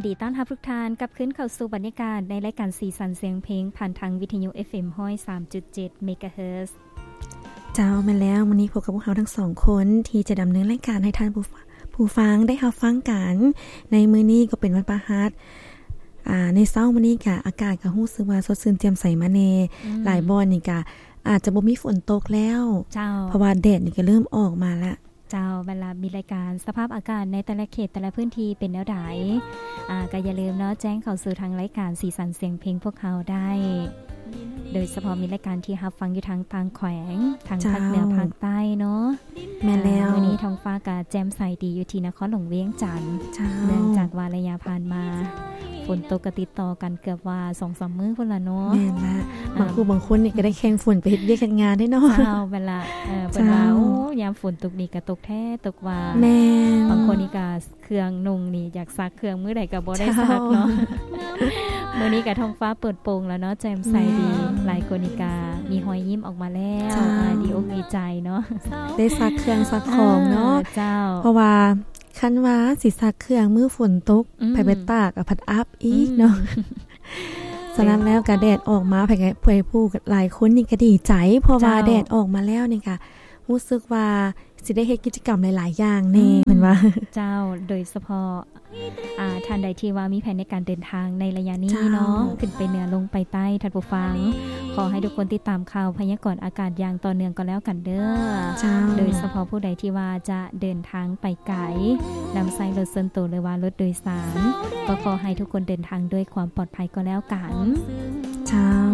ດີຕ້ອນຮັບທຸກທ່ານກັບຄືນເຂົ້າສູ່ບັນຍາກາດໃນລາຍການສີສັນສຽງເພງ ຜ່ານທາງວິທະຍຸ ເອັຟເອັມ ຮ້ອຍສາມຈຸດເຈັດ ເມກາເຮີດ. ເຈົ້າ, ແມ່ນແລ້ວ, ມື້ນີ້ພົບກັບພວກເຮົາທັງສອງຄົນທີ່ຈະດຳເນີນລາຍການໃຫ້ທ່ານຜູ້ ຜູ້ຟັງໄດ້ຮັບຟັງກັນ. ໃນມື້ນີ້ກໍເປັນວັນພະຫັດ, ອ່າ, ໃນເຊົ້າມື້ນີ້ກະອາກາດກໍຮູ້ສຶກວ່າສົດຊື່ນແຈ່ມໃສມາແດ່. ອືມ. ຫຼາຍບ່ອນນີ້ກະອາດຈະບໍ່ມີຝົນຕົກແລ້ວ. ເຈົ້າ. ເພາະວ່າແດດນີ້ກໍເລີ່ມອອກມາລະ. ເຈົ້າ, ບັດລະມີລາຍການສະພາບອາກາດໃນແຕ່ລະເຂດແຕ່ລະພື້ນທີ່ເປັນແນວໃດ? ອ່າ, ກໍຢ່າລືມເນາະ, ແຈ້ງເຂົ້າສູ່ທາງລາຍການສີສັນສຽງເພງພວກເຮົາໄດ້. ໂດຍສະເພາະມີລາຍການທີ່ຮັບຟັງຢູ່ທາງຕ່າງແຂວງ, ທາງພາກເໜືອ, ເຈົ້າ, ພາກໃຕ້ເນາະ. ແມ່ນແລ້ວ. ອ່າ, ມື້ນີ້ທ້ອງຟ້າກໍແຈ່ມໃສດີຢູ່ທີ່ນະຄອນຫຼວງວຽງຈັນ. ເຈົ້າ. ເນື່ອງຈາກວ່າໄລຍະຜ່ານມາ ຝົນຕົກກໍຕິດຕໍ່ກັນເກືອບວ່າສອງສາມມື້ພຸ້ນລະເນາະ. ແມ່ນລະ. ບາງຜູ້ບາງຄົນນີ້ກໍໄດ້ແຂ່ງຝົນໄປເຮັດວຽກເຮັດງານເດ້ເນາະ. ເຈົ້າ, ແມ່ນລະ. ເອີ, ເພິ່ນວ່າ, ເຈົ້າ, ໂອ້, ຍາມຝົນຕົກນີ້ກໍຕົກແທ້ຕົກວ່າ. ແມ່ນ. ບາງຄົນນີ້ກໍ ເຄື່ອງນຸ່ງນີ້ຢາກຊັກເຄື່ອງມື້ໃດກໍບໍ່ໄດ້ຊັກເນາະ. ເຈົ້າ. ມື້ນີ້ກະທ້ອງຟ້າເປີດໂປ່ງແລ້ວເນາະ, ແຈ່ມໃສດີ. ອືມ. ຫຼາຍຄົນນີ້ກະມີຮອຍຍິ້ມອອກມາແລ້ວ. ເຈົ້າ. ອ່າ, ດີອົກດີໃຈເນາະ, ໄດ້ຊັກເຄື່ອງຊັກຂອງເນາະ. ເອີ, ເຈົ້າ. ເພາະວ່າຄັນວ່າຊິຊັກເຄື່ອງມື້ຝົນຕົກ, ອືມ, ໄປໄປຕາກ, ອາ, ພັດອັບອີກເນາະ. ອືມ. ສະນັ້ນແລ້ວກະແດດອອກມາ, ໃຜ, ໃຜຜູ້ຫຼາຍຄົນນີ້ກະດີໃຈ, ເພາະວ່າ, ເຈົ້າ, ແດດອອກມາແລ້ວນີ້ກະ ຮູ້ສຶກວ່າຊິໄດ້ເຮັດກິດຈະກຳຫຼາຍໆຢ່າງແດ່. ອືມ. ແມ່ນວ່າ? ເຈົ້າ, ໂດຍສະເພາະ, ອ່າ, ທ່ານໃດທີ່ວ່າມີແຜນໃນການເດີນທາງໃນໄລຍະນີ້ເນາະ, ເຈົ້າ, ຂຶ້ນໄປເໜືອລົງໄປໃຕ້, ທ່ານຜູ້ຟັງ, ຂໍໃຫ້ທຸກຄົນຕິດຕາມຂ່າວພະຍາກອນອາກາດຢ່າງຕໍ່ເນື່ອງກໍແລ້ວກັນເດີ. ເຈົ້າ. ໂດຍສະເພາະຜູ້ໃດທີ່ວ່າຈະເດີນທາງໄປໄກ, ນຳໃຊ້ລົດສ່ວນໂຕ ຫຼືວ່າລົດໂດຍສານ, ກໍຂໍໃຫ້ທຸກຄົນເດີນທາງດ້ວຍຄວາມປອດໄພກໍແລ້ວກັນ. ເຈົ້າ.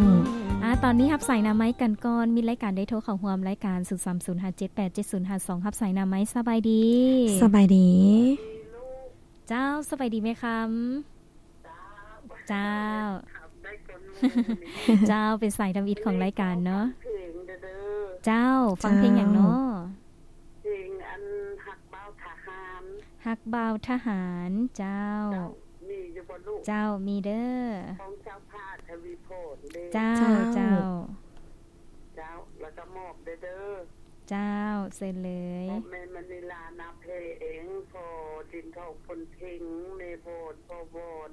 ອ່າ, ຕອນນີ້ຮັບສາຍໜ້າໄມ້ກັນກ່ອນ, ມີລາຍການໄດ້ໂທເຂົ້າຮ່ວມລາຍການ ສູນສາມສູນຫ້າເຈັດແປດເຈັດສູນຫ້າສອງ ຮັບສາຍໜ້າໄມ້. ສະບາຍດີ. ສະບາຍດີ. ເຈົ້າ, ສະບາຍດີແມ່ຄຳ. ເຈົ້າ. ເຈົ້າ, ເປັນສາຍທຳອິດຂອງລາຍການເນາະ. ເຈົ້າ, ຟັງເພງຫຍັງເນາະ? ເພງອັນຮັກບ່າວທະຫານ. ຮັກບ່າວທະຫານ. ເຈົ້າ. ເຈົ້າ, ມີຢູ່ບໍ່ລູກ? ເຈົ້າ, ມີເດີ. ຂອງເຈົ້າພາທະວີພອນເດ້. ເຈົ້າ, ເຈົ້າ, ເຈົ້າ. ເຈົ້າ, ແລ້ວກໍມອບເດີ. ເຈົ້າ, ເຊີນເລີຍ. ແມ່ມະນີລາ ນາເພງ, ພໍ່ດິນທອງ ພົນເພັງ, ແມ່ວອນ ພໍ່ວອນ.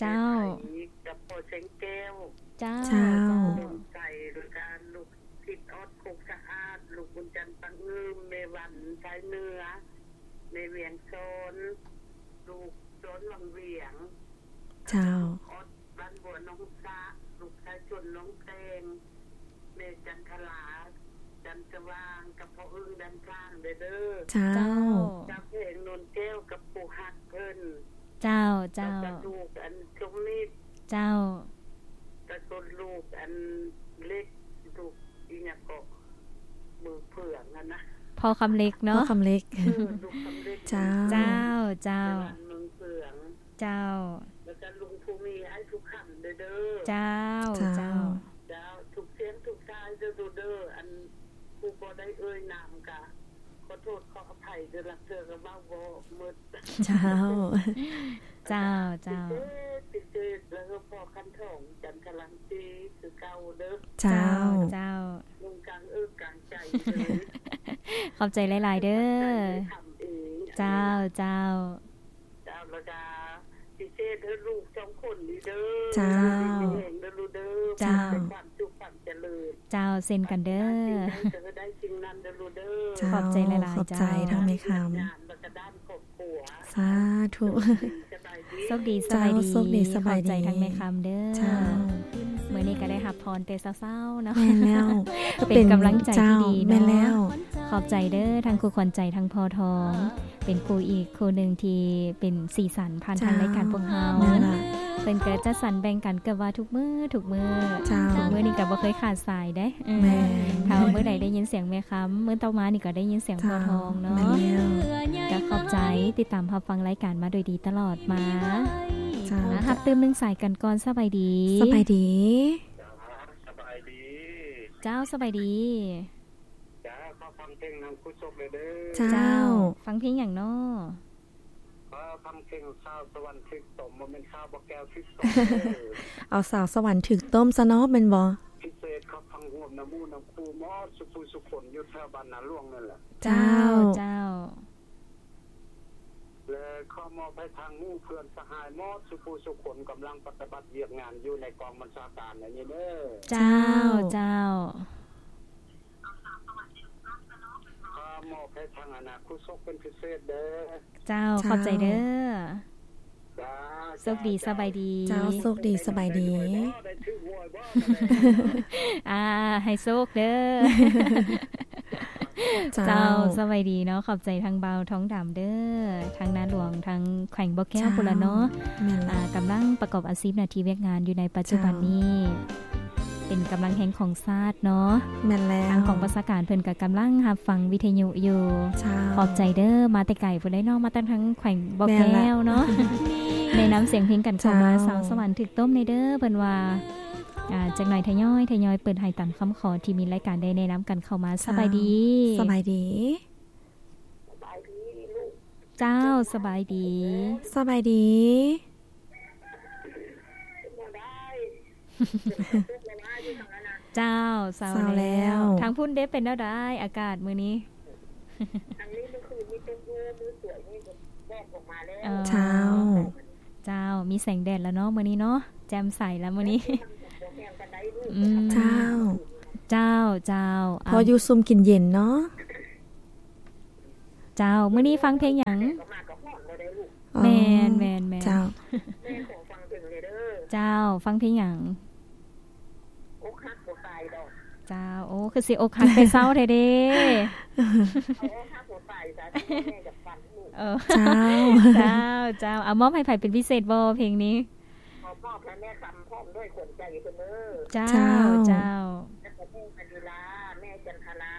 ເຈົ້າ. ແມ່ໄພ ກັບພໍ່ແສງແກ້ວ. ເຈົ້າ, ເຈົ້າ. ເຈົ້າ. ດວງໃສ ແລ້ວກະລູກທິດອອດ ໂຄກສະອາດ, ລູກບຸນຈັນ ປັງງື່ມ, ແມ່ວັນ ຊາຍເໜືອ, ແມ່ວຽງຊອນ, ລູກຊອນວັງວຽງ. ເຈົ້າ. ອອດ ບ້ານບົວໜອງສະ, ລູກຊາຍຊົນໜອງແຕງ, ແມ່ຈັນທະລາ ຈັນສະຫວ່າງ ກັບພໍ່ອຶ້ງ ດຳຊ້າງເດີ. ເຈົ້າ. ເຈົ້າ. ຈາກແຂວງໂນນແກ້ວ ກັບຜູ້ຮັກເພິ່ນ. ເຈົ້າ, ເຈົ້າ. ແລ້ວກໍລູກອັນສົມມິດ. ເຈົ້າ. ແລ້ວກໍລູກອັນເລັກ, ລູກອີຫຍັງເກາະ ມືເຜືອງຫັ້ນນະ. ພໍ່ຄຳເລັກເນາະ. ພໍ່ຄຳເລັກ. ເອີ, ລູກຄຳເລັກ. ເຈົ້າ. ເຈົ້າ, ເຈົ້າ. ແມ່ວັນ ເມືອງເຜືອງ. ເຈົ້າ. ແລ້ວກໍລຸງພູມີ ອ້າຍພູຄຳເດີ. ເຈົ້າ, ເຈົ້າ. ເຈົ້າ. ເຈົ້າ. ທຸກສຽງທຸກສາຍເດີລູກເດີ. ອັນຜູ້ບໍ່ໄດ້ເອີ່ຍນາມກະຂໍໂທດຂໍອະໄພເດີ, ລາງເທື່ອກໍເວົ້າບໍ່ໝົດ. ເຈົ້າ. ເຈົ້າ, ເຈົ້າ. ພິເສດ, ພິເສດ ແລ້ວກໍພໍ່ຄັນທອງ ຈັນທະລັງສີ ຄືເກົ່າເດີ. ເຈົ້າ. ເຈົ້າ, ເຈົ້າ. ລົງກາງເອິກກາງໃຈເລີຍ. ຂອບໃຈຫຼາຍໆເດີ. ຂອບໃຈເດີ. ເຈົ້າ, ເຈົ້າ. ເຈົ້າ, ແລ້ວກະພິເສດໃຫ້ລູກສອງຄົນນີ້ເດີ. ເຈົ້າ. ຢູ່ດີມີແຮງເດີລູກເດີ. ເຈົ້າ. ມີແຕ່ຄວາມສຸກຄວາມຈະເລີນ. ເຈົ້າ, ເຊັ່ນກັນເດີ. ສິ່ງໃດກໍໃຫ້ໄດ້ສິ່ງນັ້ນເດີລູກເດີ. ເຈົ້າ. ຂອບໃຈຫຼາຍໆ. ເຈົ້າ, ຂອບໃຈທາງແມ່ຄຳ. ດ້ານງານ ແລ້ວກໍດ້ານຄອບຄົວ. ສາທຸ. ໂຊກດີ, ໂຊກດີ. ເຈົ້າ, ສະບາຍດີ. ໂຊກດີ, ສະບາຍດີ. ຂອບໃຈທາງແມ່ຄຳເດີ. ເຈົ້າ. ມື້ນີ້ກໍໄດ້ຮັບພອນແຕ່ເຊົ້າໆເນາະ. ແມ່ນແລ້ວ. ເປັນກຳລັງໃຈທີ່ດີເນາະ. ເຈົ້າ, ແມ່ນແລ້ວ. ຂອບໃຈເດີ ທາງຄູຂວັນໃຈ ທາງພໍ່ທອງ. ເປັນຄູອີກຄູ່ໜຶ່ງທີ່ເປັນສີສັນຜ່ານທາງລາຍການພວກເຮົາ. ເຈົ້າ, ແມ່ນລະ. ເພິ່ນກໍຈັດສັນແບ່ງກັນເກືອບວ່າທຸກມື້, ທຸກມື້. ເຈົ້າ. ທຸກມື້ນີ້ກໍບໍ່ເຄີຍຂາດສາຍເດ້. ເອີ. ແມ່ນ. ຖ້າວ່າມື້ໃດໄດ້ຍິນສຽງແມ່ຄຳ, ມື້ຕໍ່ມານີ້ກໍໄດ້ຍິນສຽງພໍ່ທອງເນາະ. ເຈົ້າ, ແມ່ນແລ້ວ. ກໍຂອບໃຈ ຕິດຕາມຮັບຟັງລາຍການມາໂດຍດີຕະຫຼອດມາ. ເຈົ້າ. ອ່າ, ຮັບຕື່ມໜຶ່ງສາຍກັນກ່ອນ. ສະບາຍດີ. ສະບາຍດີ. ເຈົ້າ, ສະບາຍດີ. ເຈົ້າ, ສະບາຍດີ. ເຈົ້າ, ຂໍຟັງເພງນຳຄູສົກແດ່ເດີ. ເຈົ້າ. ເຈົ້າ, ຟັງເພງຫຍັງເນາະ? ຂໍຟັງເພງສາວສະຫວັນຖືກຕົ້ມ, ບໍ່ແມ່ນສາວບໍ່ແກ້ວຖືກຕົ້ມເດີ. ເອົາສາວສະຫວັນຖືກຕົ້ມຊະເນາະ, ແມ່ນບໍ່? ພິເສດ ຂໍຟັງຮ່ວມນຳໝູ່ນຳຄູ່ໝົດ ສູ່ຜູ້ສູ່ຄົນ ຢູ່ແຖວບ້ານນາຫຼວງນັ້ນແຫຼະ. ເຈົ້າ, ເຈົ້າ. ເຈົ້າ. ແລະ ຂໍມອບໃຫ້ທາງໝູ່ເພື່ອນສະຫາຍໝົດສູ່ຜູ້ສູ່ຄົນ ກຳລັງປະຕິບັດວຽກງານຢູ່ໃນກອງບັນຊາການອັນນີ້ເດີ. ເຈົ້າ ເຈົ້າ ເຈົ້າ. ຂໍມອບໃຫ້ທາງອະນາຄູສົກເປັນພິເສດເດີ. ເຈົ້າ ເຈົ້າ ຂອບໃຈເດີ. ເຈົ້າ ໂຊກດີ ເຈົ້າ ສະບາຍດີ. ເຈົ້າ ໂຊກດີ ສະບາຍດີ. ໄດ້ຖືກຫວຍບໍ່? ອ່າ ໃຫ້ໂຊກເດີ. ເຈົ້າ ເຈົ້າ ສະບາຍດີເນາະ. ຂອບໃຈທາງບ່າວທອງດຳເດີ ທາງນາຫຼວງ ທາງແຂວງບໍ່ແກ້ວພຸ້ນລະເນາະ. ແມ່ນລະ. ອ່າ ກຳລັງປະກອບອາຊີບໜ້າທີ່ວຽກງານຢູ່ໃນປັດຈຸບັນນີ້ ເຈົ້າ ເປັນກຳລັງແຮງຂອງຊາດເນາະ. ແມ່ນແລ້ວ. ທາງກອງບັນຊາການເພິ່ນກໍກຳລັງຮັບຟັງວິທະຍຸຢູ່. ເຈົ້າ ຂອບໃຈເດີ. ມາແຕ່ໄກພຸ້ນເດ້ເນາະ ມາຕັ້ງທາງແຂວງບໍ່ແກ້ວເນາະ. ແມ່ນລະ. ແນະນຳສຽງເພງກັນເຂົ້າມາ. ເຈົ້າ ສາວສະຫວັນຖືກຕົ້ມແດ່ເດີເພິ່ນວ່າ. ອ່າ ຈັກໜ່ອຍທະຍອຍ ທະຍອຍເປີດໃຫ້ຕາມຄຳຂໍທີ່ມີລາຍການໄດ້ແນະນຳກັນເຂົ້າມາ. ເຈົ້າ ສະບາຍດີ. ສະບາຍດີ. ສະບາຍດີລູກ. ເຈົ້າ ສະບາຍດີ. ສະບາຍດີ. ເປັນແນວໃດ? ເປັນໄຂ້ຕົກລະວາຢູ່ທາງນັ້ນນະ? ເຈົ້າ ເຊົາແລ້ວ. ເຊົາແລ້ວ. ທາງພຸ້ນເດ ເປັນແນວໃດ ອາກາດມື້ນີ້? ທາງນີ້ມື້ຄືນນີ້ຕົກຢູ່ ມື້ສວຍນີ້ກໍແດດອອກມາແລ້ວ. ເອີ ເຈົ້າ. ເຈົ້າ ມີແສງແດດແລ້ວເນາະມື້ນີ້ເນາະ ແຈ່ມໃສແລ້ວມື້ນີ້. ອືມ ເຈົ້າ ເຈົ້າ ເຈົ້າ. ພໍຢູ່ຊຸ່ມກິນເຢັນເນາະ. ເຈົ້າ ມື້ນີ້ຟັງເພງຫຍັງ? ອໍ ແມ່ນໆໆ. ເຈົ້າ ແມ່ຂໍຟັງເພງແດ່ເດີ. ເຈົ້າ ຟັງເພງຫຍັງ? ອົກຫັກບໍ່ຕາຍດອກ. ເຈົ້າ ໂອ້ ຄືຊິອົກຫັກແຕ່ເຊົ້າແທ້ເດ. ເອົາອົກຫັກບໍ່ຕາຍຊະ ແມ່ຢາກຟັງຢູ່. ເອີ ເຈົ້າ ເຈົ້າ ເຈົ້າ. ເອົາມອບໃຫ້ໃຜເປັນພິເສດບໍ່ເພງນີ້? ຂໍມອບໃຫ້ແມ່ຄຳພ້ອມດ້ວຍຂວັນໃຈເພິ່ນເດີ. ເຈົ້າ ເຈົ້າ ເຈົ້າ. ແລ້ວກໍແມ່ມະນີລາ ແມ່ຈັນທະລາ.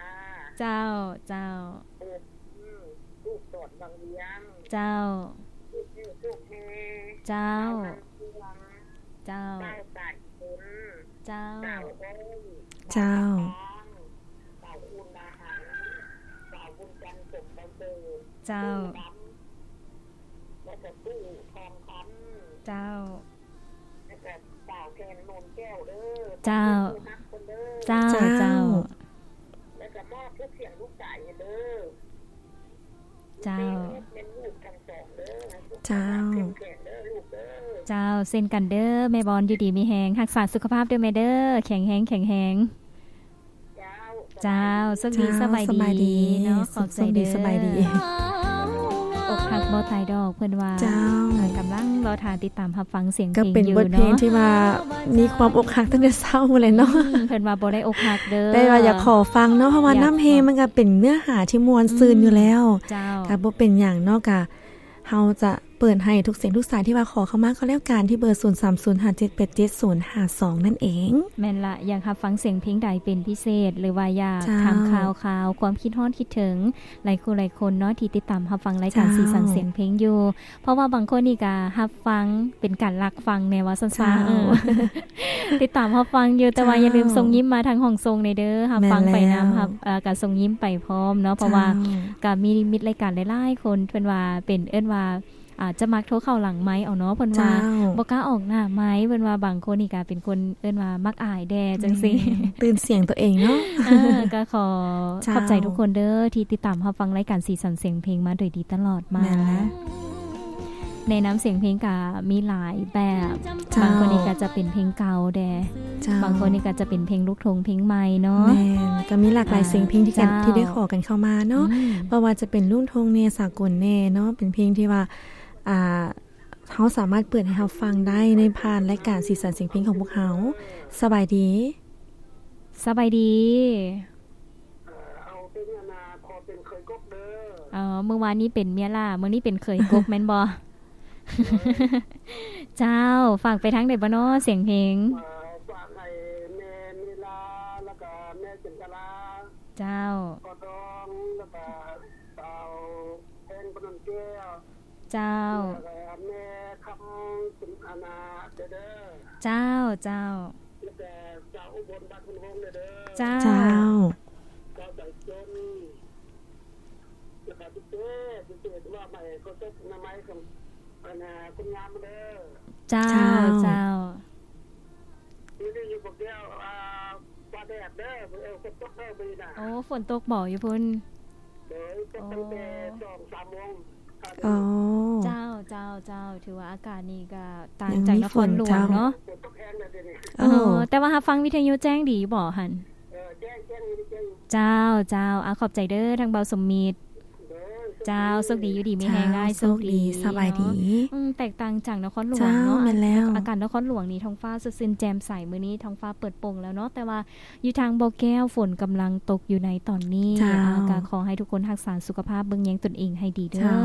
ເຈົ້າ ເຈົ້າ. ອືມ ລູກສອນວັງວຽງ. ເຈົ້າ ລູກເອີ ລູກແຮ. ເຈົ້າ ເຈົ້າ ນາງເມືອງ. ເຈົ້າ ເຈົ້າ ສາຍຝົນ. ເຈົ້າ ສາວອ້ອຍ. ເຈົ້າ ສາວຄູນນາຫັນ. ສາວບຸນຈັນ ສົມປະເສີດ. ເຈົ້າ ຕູ້ດຳ. ແລ້ວກໍຕູ້ທອງຄຳ. ເຈົ້າ ແລ້ວກໍສາວແພນ ໂນນແກ້ວເດີ. ເຈົ້າ ເຈົ້າ ເຈົ້າ ເຈົ້າ. ແລ້ວກໍມອບທຸກສຽງທຸກສາຍເດີ. ເຈົ້າ ແມ່ນລູກທັງສອງເດີ. ເຈົ້າ ເຂົ້ມແຂງເດີລູກເດີ. ເຈົ້າ ເຊັ່ນກັນເດີ ແມ່ບອນ ຢູ່ດີມີແຮງ ຮັກສາສຸຂະພາບເດີແມ່ເດີ ແຂງແຮງ ແຂງແຮງ. ເຈົ້າ ໂຊກດີ ເຈົ້າ ສະບາຍດີເນາະ. ສະບາຍດີ ຂອບໃຈເດີ ໂຊກດີ ສະບາຍດີ. ອົກຫັກບໍ່ຕາຍດອກ ເພິ່ນວ່າ. ເຈົ້າ ເອີ ກຳລັງລໍຖ້າຕິດຕາມຮັບຟັງສຽງເພງຢູ່ເນາະ. ກໍເປັນບົດເພງທີ່ວ່າມີຄວາມອົກຫັກຕັ້ງແຕ່ເຊົ້າພຸ້ນແຫຼະເນາະ. ອືມ ເພິ່ນວ່າບໍ່ໄດ້ອົກຫັກເດີ ແຕ່ວ່າຢາກຂໍຟັງເນາະ ເພາະວ່ານ້ຳເຮງມັນກໍເປັນເນື້ອຫາທີ່ມ່ວນຊື່ນຢູ່ແລ້ວ. ເຈົ້າ ກໍບໍ່ເປັນຫຍັງເນາະ ກະເຮົາຈະ ເປີດໃຫ້ທຸກສຽງທຸກສາຍທີ່ວ່າຂໍເຂົ້າມາກໍແລ້ວກັນ ທີ່ເບີ ສູນສາມສູນຫ້າເຈັດແປດເຈັດສູນຫ້າສອງ ນັ້ນເອງ. ແມ່ນລະ ຢາກຮັບຟັງສຽງເພງໃດເປັນພິເສດ ຫຼືວ່າຢາກ ເຈົ້າ ຖາມຂ່າວຄາວ ຄວາມຄິດຮອດຄິດເຖິງ ຫຼາຍຄູ່ຫຼາຍຄົນເນາະ ທີ່ຕິດຕາມຮັບຟັງລາຍການ ເຈົ້າ ສີສັນສຽງເພງຢູ່ ເພາະວ່າບາງຄົນນີ້ກະຮັບຟັງເປັນການລັກຟັງແດ່ວ່າຊັ້ນຊະ. ເຈົ້າ ເອີ ຕິດຕາມຮັບຟັງຢູ່ ແຕ່ວ່າ ເຈົ້າ ຢ່າລືມສົ່ງຍິ້ມມາທາງຫ້ອງສົ່ງແດ່ເດີ ຮັບຟັງໄປນຳ ແມ່ນແລ້ວ ຮັບ ເອີ ກະສົ່ງຍິ້ມໄປພ້ອມເນາະ ເພາະວ່າ ເຈົ້າ ກະມີມິດລາຍການຫຼາຍໆຄົນ ເພິ່ນວ່າເປັນ ເອີ້ນວ່າ ອາດຈະມັກໂທເຂົ້າຫຼັງໄມເອົາເນາະ ເພິ່ນວ່າ ເຈົ້າ ບໍ່ກ້າອອກໜ້າໄມ ເພິ່ນວ່າບາງຄົນນີ້ກະເປັນຄົນ ເອີ້ນວ່າມັກອາຍແດ່ຈັ່ງຊີ້ ແມ່ນ ຕື່ນສຽງຕົວເອງເນາະ. ເອີ ກະຂໍ ເຈົ້າ ຂອບໃຈທຸກຄົນເດີ ທີ່ຕິດຕາມຮັບຟັງລາຍການສີສັນສຽງເພງມາໂດຍດີຕະຫຼອດມາ. ແມ່ນແລ້ວ ແນະນຳສຽງເພງກະມີຫຼາຍແບບ ເຈົ້າ ບາງຄົນນີ້ກະຈະເປັນເພງເກົ່າແດ່ ເຈົ້າ ບາງຄົນນີ້ກະຈະເປັນເພງລູກທົ່ງເພງໃໝ່ເນາະ. ແມ່ນ ກະມີຫຼາກຫຼາຍສຽງເພງທີ່ກັນ ເຈົ້າ ທີ່ໄດ້ຂໍກັນເຂົ້າມາເນາະ ອືມ ບໍ່ວ່າຈະເປັນລູກທົ່ງແດ່ ສາກົນແດ່ເນາະ ເປັນເພງທີ່ວ່າ ອ່າ ເຮົາສາມາດເປີດໃຫ້ຮັບຟັງໄດ້ໃນຜ່ານລາຍການສີສັນສຽງເພງຂອງພວກເຮົາ. ສະບາຍດີ. ສະບາຍດີ. ເອີ ເອົາເປັນອັນນ່າ ຂໍເປັນເຂີຍກົກເດີ. ອໍ ມື້ວານນີ້ເປັນເມຍຫຼ້າ ມື້ນີ້ເປັນເຂີຍກົກແມ່ນບໍ່? ເຈົ້າ ຝາກໄປທາງໃດບໍ່ນໍ ສຽງເພງ? ເອີ ຝາກໃຫ້ແມ່ເມລາ ແລ້ວກະແມ່ຈັນທະລາ. ເຈົ້າ ພໍ່ທອງ ແລ້ວກະສາວແພງ ພະນົມແກ້ວ. ເຈົ້າ ແລ້ວກະແມ່ຄຳ ສຸນອານາເດີ. ເຈົ້າ ເຈົ້າ ແລ້ວກະສາວອຸບົນ ບ້ານພຸນວົງເດີ. ເຈົ້າ ເຈົ້າ ສາວໃຈຈົນ ແລ້ວກະພິເສດ ພິເສດວ່າໃໝ່ ຂໍຕົກໜ້າໄມ້ຂອງອັນນ່າ ຄົນງາມເດີ. ເຈົ້າ ເຈົ້າ ເຈົ້າ. ຢູ່ນີ້ຢູ່ບໍ່ແກ້ວ ອ່າ ຟ້າແດດເດີ ເອີ ຝົນຕົກເດີມື້ນີ້ນະ. ໂອ້ ຝົນຕົກບໍ່ຢູ່ພຸ້ນ? ໂດຍ ຕົກຕັ້ງແຕ່ ໂອ້ ສອງສາມໂມງ. ອໍ ເຈົ້າ ເຈົ້າ ເຈົ້າ ຖືວ່າອາກາດນີ້ກໍຕ່າງຈາກນະຄອນຫຼວງເນາະ. ເອີ ແຕ່ວ່າຮັບຟັງວິທະຍຸແຈ້ງດີບໍ່ຫັ້ນ? ເຈົ້າ ເຈົ້າ ອາ ຂອບໃຈເດີ ທາງເບົາສົມມິດ. ເຈົ້າ ໂຊກດີ ຢູ່ດີມີແຮງ ເຈົ້າ ອ້າຍ ໂຊກດີ ສະບາຍດີ. ອືມ ແຕກຕ່າງຈາກນະຄອນຫຼວງເນາະ. ເຈົ້າ ແມ່ນແລ້ວ ອາກາດນະຄອນຫຼວງນີ້ ທ້ອງຟ້າສົດຊື່ນແຈ່ມໃສ, ມື້ນີ້ທ້ອງຟ້າເປີດໂປ່ງແລ້ວເນາະ, ແຕ່ວ່າຢູ່ທາງບໍ່ແກ້ວ ຝົນກຳລັງຕົກຢູ່ໃນຕອນນີ້. ເຈົ້າ ອາ ກໍຂໍໃຫ້ທຸກຄົນຮັກສາສຸຂະພາບ ເບິ່ງແຍງຕົນເອງໃຫ້ດີເດີ. ເຈົ້າ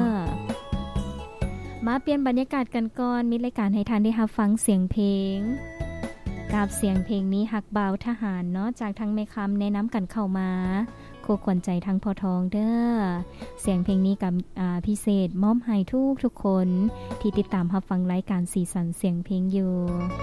ມາປ່ຽນບັນຍາກາດກັນກ່ອນ, ມີລາຍການໃຫ້ທ່ານໄດ້ຮັບຟັງສຽງເພງ ກັບສຽງເພງມີຮັກບ່າວທະຫານເນາະ ຈາກທາງແມ່ຄຳແນະນຳກັນເຂົ້າມາ. ຄູ່ຂວັນໃຈທັງພໍ່ທອງເດີ. ສຽງເພງນີ້ກໍ ອາ ພິເສດມອບໃຫ້ທຸກໆຄົນທີ່ຕິດຕາມຮັບຟັງລາຍການສີສັນສຽງເພງຢູ່.